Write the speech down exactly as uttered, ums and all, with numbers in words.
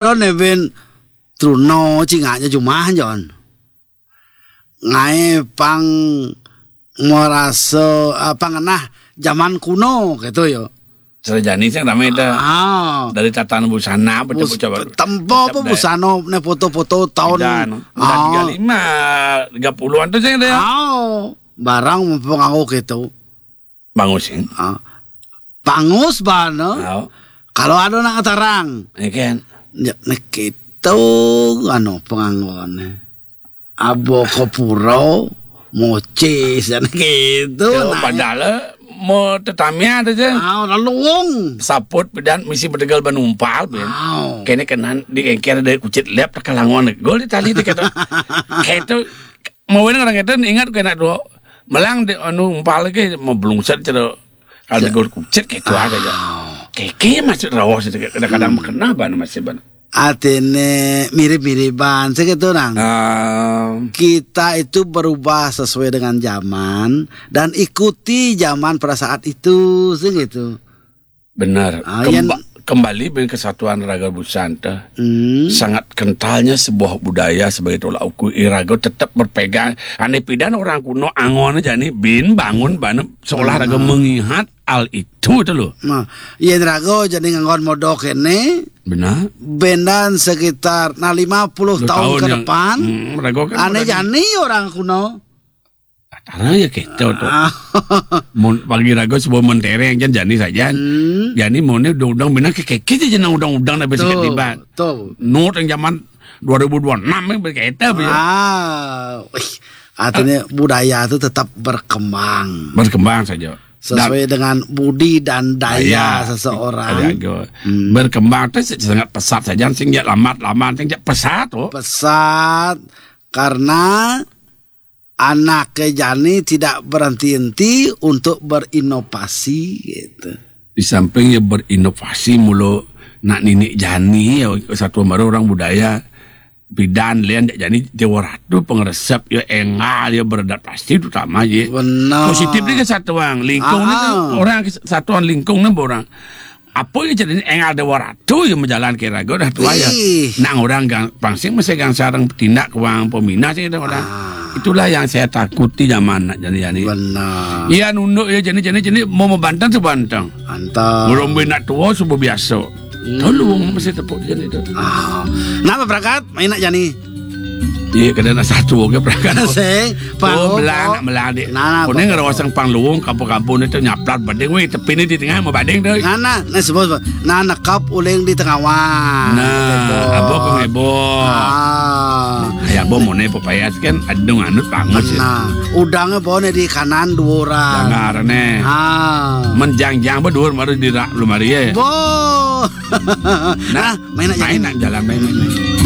Ron eben truno cingaknya jumah, Jon. Ngaé pang marasa, ah, pang ngenah jaman kuno gitu ya. Sareng jani sing ramé dah. Ah. Dari tatan busana, bocah-bocah baru. Tempo apa busana, né foto-foto tahun. Udah, udah tiga lima, tiga puluhan tuh sing ada ya. Ah, barang panganggo gitu. Pangus, ya? Ah. Pangus bana. Kalau ada nak ngetarang. Ya kan? Ya, nek itu, anu, penganggoné. Abo kopuro, mocis, dan gitu. Ya, nah, padahal mau tetamiah aja. Ah, lalu wong. Saput dan misi bedegal banumpal, ben. Kéné kenan di engker dari kucit lep, tekalangon. Gol di tali di kata. Kayak itu, mau orang itu ingat kena dua. Melang di anu umpal lagi, mau belungset cara. Ada gol kucit kayak itu aja ya. Keke masih rawas itu, kadang-kadang kena ban masih ban. Artinya mirip-miripan, segitu, Nang. Kita itu berubah sesuai dengan zaman dan ikuti zaman pada saat itu, segitu. Benar. Ah, kembali dengan kesatuan raga busan teh. Sangat kentalnya sebuah budaya sebagai tolak ukur, iraga tetap berpegang. Ane pidan orang kuno angon aja nih, bin bangun bana seolah raga mengingat al itu tuh loh. Nah, yén raga jadi nganggon modok kéné. Benar. Bendan sekitar, nah, lima puluh tahun ke depan, raga kan ane jani orang kuno. Karena ya gitu tuh. Mun pagi raga sebelum mentereng jan jani saja. Jani mau nih udang-udang benar kayak gitu aja nang udang-udang nabi sakit tiba. Tuh. Not yang zaman dua ribu dua puluh enam yang berkaitan ya. Ah, wih, artinya budaya itu tetap berkembang. Berkembang saja. Sesuai dengan budi dan daya seseorang. Berkembang itu sangat pesat saja, sing ya lambat-lambat, sing ya pesat tuh. Pesat karena anaknya jani tidak berhenti-henti untuk berinovasi gitu. Di samping ya berinovasi mulu nak ninik jani ya satu baru orang budaya. Bidan lian jani Jawa Ratu pengeresep ya engal ya beradaptasi terutama ya. Benar. Positif ni kesatuan lingkung ni orang kesatuan lingkung ni orang. Apa ya jadi engal Jawa Ratu ya menjalan ke raga dah tuai ya. Nang orang gang pangsing masih gang sarang tindak kewang pemina sih orang. Itulah yang saya takuti zaman nak jani-jani. Benar. Iya nunduk ya jani-jani jani mau membantang sebantang. Antang. Belum nak tua subuh biasa. Tolong masih tepuk jani tu. Ah. Napa berangkat? Main nak jani. Iya, kada nak satu oke berangkat. Sing, oh, melang, nak melang dik. Nah, nah, kuning ngerawas yang pang luwung kampung-kampung itu nyaplat bading weh, tepi ni di tengah mau bading tu. Nah, nah, nah, sebut, sebut. Nah, nekap uling di tengah wan. Nah, apa kau heboh? Ah. Ya, bo mone pepaya kan adung anut bangus ya. Nah, udangnya bawa di kanan dua orang. Jangan aneh. Ah. Menjangjang berdua baru di rak belum hari ya. Bo. Nah, main nak jalan, main, main, main.